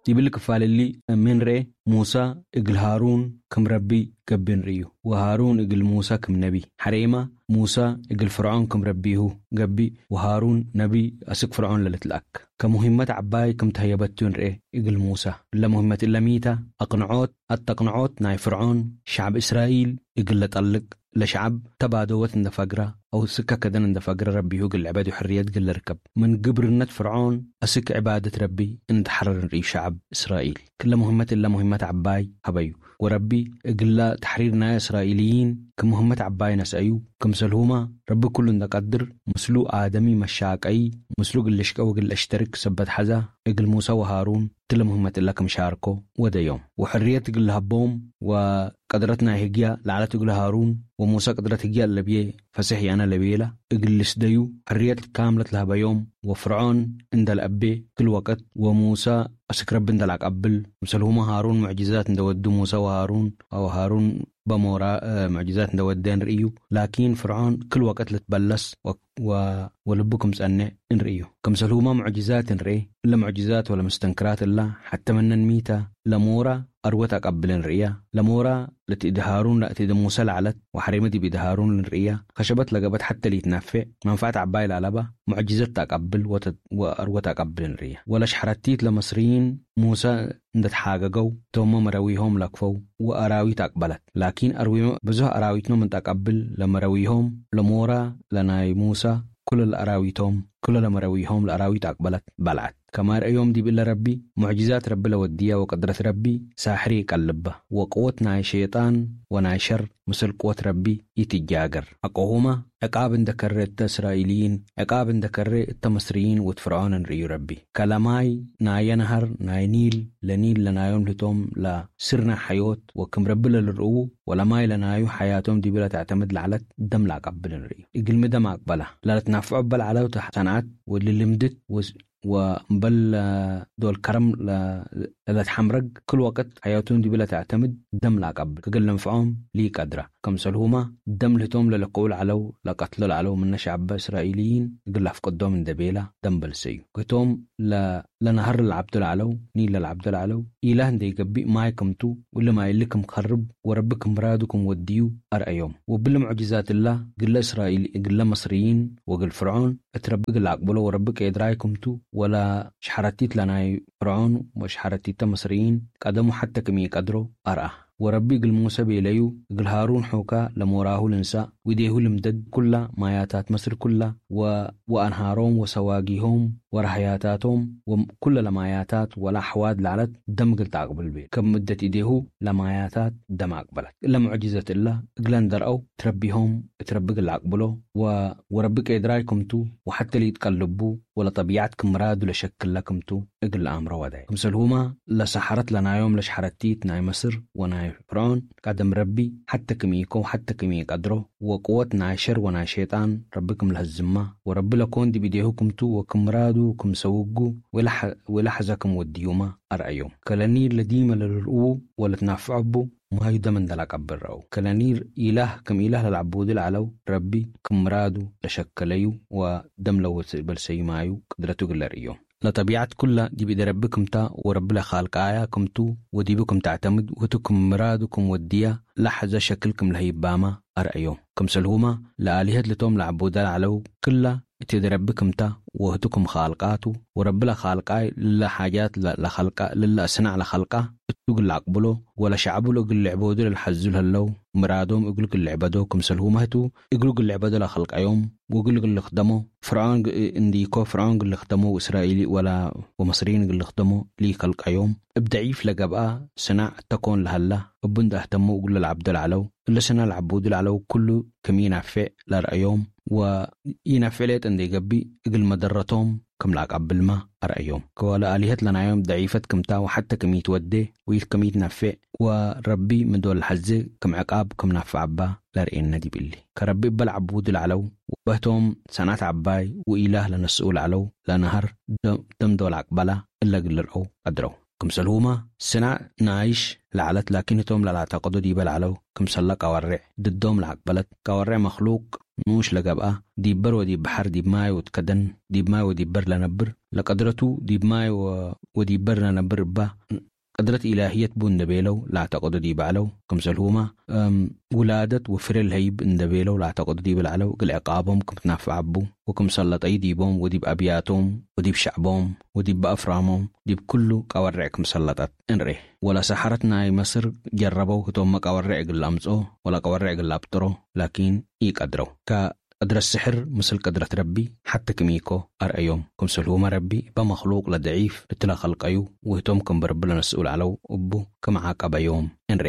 ይብል ክፋልሊ ምንሬ ሙሳ እግል ሃሩን ክም ረቢ ገቢ ንርእዩ። ወሃሩን እግል ሙሳ ክም ነቢ ሓሬማ ሙሳ እግል ፍርዖን ክም ረቢሁ ገቢ። ወሃሩን ነቢ ኣስክ ፍርዖን ለልትልኣክ ከሙሂመት ዓባይ ክም ተህየበቱ ንርኤ። እግል ሙሳ ለሙሂመት እለሚታ ኣቅንዖት ኣተቅንዖት ናይ ፍርዖን ሻዕብ እስራኤል እግል ለጠልቅ ለሸዓብ ተባደወት እንደፈግራ ኣው ስካ ከደን እንደፈግረ ረቢሁ ግልዕበድ ሕርየት ግልርከብ። ምን ግብርነት ፍርዖን ኣስክ ዕባደት ረቢ እንድሓረር ንርእዩ ሸዓብ እስራኤል ክለ ሙህመት እለ ሙህመት ዓባይ ሃበዩ። ወረቢ እግላ ተሕሪር ናይ እስራኤልይን ክም ሙህመት ዓባይ ነስአዩ። ክምሰልሁማ ረቢ ኩሉ እንደቀድር ምስሉ ኣደሚ መሻቀይ ምስሉ ግልሽቀ ወግል ኣሽተርክ ሰበት ሓዛ እግል ሙሳ ወሃሩን ትለ ሙህመት እለ ክም ሻርኮ ወደዮም ወሕርየት እግል ሃቦም ወቀድረት ናይ ህግያ ለዓለት እግል ሃሩን ወሙሳ ቅድረት ህግያ ለብየ ፈሰሕ ያነ ለቤላ እግል ልስደዩ ሕርየት ካምለት ለህበዮም ወፍርዖን እንደልአቤ ክል ወቀት ወሙሳ ኣስክረብ እንደልአቀብል ምሰልሁማ ሃሩን ሙዕጅዛት እንደወዱ ሙሳ ወሃሩን ኣው ሃሩን በሞራ ሙዕጅዛት እንደወደን ርእዩ። ላኪን ፍርዖን ክል ወቀት ልትበለስ ወልቡ ክም ጸንዕ እንርእዩ። ክምሰልሁማ ሙዕጅዛት እንርኤ። እለ ሙዕጅዛት ወለምስተንክራት እላ ሓተመነን ሚታ ለሞራ ኣርወት ኣቀብልን ርእያ። ለሞራ ለትእድሃሩን ለእትእድሙሰ ለዓለት ወሓሬመ ዲብ ኢድሃሩን ልንርእያ። ከሸበት ለገበት ሓተ ሊትነፌዕ መንፋዕት ዓባይ ለኣለባ ሙዕጅዘት ተቀብል ወተ- ወኣርወት ኣቀብል ንርእያ። ወለሽሐረቲት ለመስርይን ሙሰ እንደተሓገገው ቶሞ መረዊሆም ለክፈው ወኣራዊት ኣቅበለት። ላኪን ኣርዊሞ ብዙህ ኣራዊትኖም እንጠቀብል ለመረዊሆም ለሞራ ለናይ ሙሳ ኩለ ለኣራዊቶም ኩለ ለመረዊሆም ለኣራዊት ኣቅበለት በልዓት። ከማይ ረእዮም ዲብ እለ ረቢ ሙዕጅዛት ረቢ ለወድያ ወቅድረት ረቢ ሳሕሪ ይቀልባ ወቅወት ናይ ሸይጣን ወናይ ሸር ምስል ቅወት ረቢ ይትጃገር። ሐቆሁማ ዕቃብ እንደ ከሬ እተ እስራኤልይን ዕቃብ እንደ ከሬ እተ መስርይን ወት ፍርዖን እንርእዩ ረቢ። ከለማይ ናየ ነሀር ናይ ኒል ለኒል ለናዮም ልህቶም ለስርና ሐዮት ወክም ረቢ ለልርእዉ ወለማይ ለናዩ ሐያቶም ዲብለ ተዕተምድ ለዓለት ደም ለአቀብል እንርእዩ። እግልሚ ደም አቅበላ ለለትናፍዖ በል ዓለውተ ሰንዓት ወልልምድት ወስ- ወእምበል ዶል ከረም ለለትሐምረግ ክል ወቅት ሐያቱን ዲብለ ተዕተምድ ደም ለአቀብል ክግል ለንፍዖም ሊቀድራ። ከምሰልሁማ ደም ልህቶም ለለክኡ ለዓለው ለቀትሎ ለዓለው ምነ ሸዐበ እስራኤልይን እግል ለአፍቅዶም እንደ ቤላ ደም በልሰዩ። ህቶም ለ- ለነሀር ለልዓብዶ ለዓለው ኒል ለልዓብዶ ለዓለው ኢላህ እንደ ይገቢእ ማይ ክምቱ እሊ ማይ እሊ ክም ከርብ ወረቢ ክም ምራዱ ክም ወድዩ አርአዮም። ወብሊ ሙዕጅዛት እላ ግለ እስራኤል እግለ መስርይን ወግል ፍርዖን እት ረቢ እግል አቅብሎ ወረቢ ቄድራይ ክምቱ ወላ ሽሐረቲት ለናይ ፍርዖን ወሽሐረቲተ መስርይን ቀደሙ ሐተ ክም ኢቀድሮ አርአ። ወረቢ እግል ሙሰ ቤለዩ እግል ሃሩን ሑካ ለሞራሁ ልንሳእ ዊዴሁ ልምደድ ኩላ ማያታት መስር ኩላ ወ- ወአንሃሮም ወሰዋጊሆም ወራህያታቶም ወኩለ ለማያታት ወላ አሕዋት ለዓለት ደም እግል ተአቅብል ቤል። ከብ ምደት ኢዴሁ ለማያታት ደም አቅበለት። እለ ሙዕጅዘት እላ እግለን ደርአው ትረቢሆም እት ረቢ እግል አቅብሎ ወ- ወረቢ ቄድራይ ክምቱ ወሐተ ሊትቀልቡ ወለጠቢዓት ክም ምራዱ ለሸክለ ክምቱ እግል ለአምሮ ወዳይ። ክምሰልሁማ ለሰሐረት ለናዮም ለሽሐረቲት ናይ መስር ወናይ ፍርዖን ቀደም ረቢ ሐተ ክም ኢኮ ሐተ ክም ኢቀድሮ ወቅወት ናይ ሸር ወናይ ሸይጣን ረቢ ክም ለህዝማ ወረቢ ለኮን ዲብ ኢዴሁ ክምቱ ወክም ምራዱ ክም ሰውጉ ወለሐ- ወለሐዘ ክም ወድዩማ አርአዮም። ከለኒር ለዲመ ለልርእዉ ወለትናፍዐቡ ማዩ ደም እንደላቀብል ረአው። ከለኒር ኢላህ ክም ኢላህ ለልዓቡዱ ለዓለው ረቢ ክም ምራዱ ለሸከለዩ ወደም ለወስእ በልሰዩ ማዩ ቅድረቱ እግል ለርእዮም። ለጠቢዓት ኩላ ዲብ ኢደ ረቢ ክምታ ወረቢ ለኻልቃያ ክምቱ ወዲቡ ክም ተዕተምድ ወህቱ ክም ምራዱ ክም ወድያ ለሐዘ ሸክል ክም ለህይባማ አርአዮም። ክምሰልሁማ ለአሊሀት ልቶም ለዐቡዳ ለዐለው ክላ እት ኢደ ረቢ ክምታ ወህቱ ክም ኻልቃቱ ወረቢ ለኻልቃይ ልለ ሓጃት ለ- ለኸልቃ ልለ አስናዕ ለኸልቃ እቱ እግል ለአቅብሎ ወለሸዕቡ ለእግል ልዕበዱ ለልሐዙ ለህለው ምራዶም እግሉ እግል ልዕበዶ ክምሰልሁማ ህቱ እግሉ እግል ልዕበዶ ለኸልቀዮም ወእግሉ እግል ልክደሞ ፍርዖን ግ- እንዲኮ ፍርዖን እግል ልክደሞ ወእስራኤሊ ወላ ወመስሪን እግል ልክደሞ ሊከልቀዮም እብ ደዒፍ ለገብአ ስናዕ ተኮን ለሀላ እቡ እንደ አህተሞ እግሉ ለልዓብዶ ለዐለው እለ ስና ለዐቡዱ ለዐለው ኩሉ ክም ኢናፌዕ ለርአዮም ወኢናፌዕ ሌጠ እንደ ይገቢእ እግል መደረቶም ክም ለአቀብልማ አርአዮም። ከወለ አሊሀት ለናዮም ደዒፈት ክምታ ወሐተ ክም ኢትወዴ ወኢት ክም ኢትነፌዕ ወረቢ ምዶል ሐዜ ክም ዕቃብ ክም ናፍዐባ ለርእየነ ዲብ እሊ። ከረቢ እበ ለዐቡዱ ለዐለው ወበህቶም ሰንዓት ዐባይ ወኢላህ ለነስኡ ለዐለው ለነሀር ደም- ደምዶ ለአቅበላ እለ እግል ልርአው ቀድረው። ክምሰልሁማ ስናዕ ናይሽ ለዐለት ላኪን ህቶም ለላዕተቅዶ ዲበ ለዐለው ክምሰለ ቀወሬዕ ድዶም ለአቅበለት ቀወሬዕ መክሉቅ ንኡሽ ለገብኣ፣ ዲብ በር ወዲብ በሐር ዲብ ማይ ወትከደን፣ ዲብ ማይ ወዲብ በር ለነብር፣ ለቀድረቱ ዲብ ማይ ወ-፣ ወዲብ በር ለነብር እባ፣ ቀድረት ኢላህየት ቡ እንደ ቤለው ላዕተቀዱ ዲብ ዐለው፣ ክምሰልሁማ፣ እም፣ ውላደት ወፍሬ ለሀይብ እንደ ቤለው ላዕተቀዱ ዲብ ለዐለው፣ እግል ዕቃቦም ክም ትናፍዕ ቡ ወክም ሰለጠዩ ዲቦም ወዲብ አብያቶም ወዲብ ሸዕቦም ወዲብ በአፍራሞም ዲብ ኩሉ ቀወርዕ ክም ሰለጠት እንሬ። ወላ ሰሐረት ናይ መስር ጀረበው ህቶም መቃወርዕ እግል ለአምጽኦ ወላ ቀወርዕ እግል ለአብጥሮ፣ ላኪን ኢቀድረው። ከ-፣ ቀድረት ስሕር ምስል ቀድረት ረቢ ሐቲ ክም ኢኮ አርአዮም። ክምሰልሁመ ረቢ እበ መክሉቅ ለደዒፍ እትለ ከልቀዩ ወህቶም ክም በርብ ለነስኡ ለዐለው እቡ ክም ዓቀበዮም እንሬ።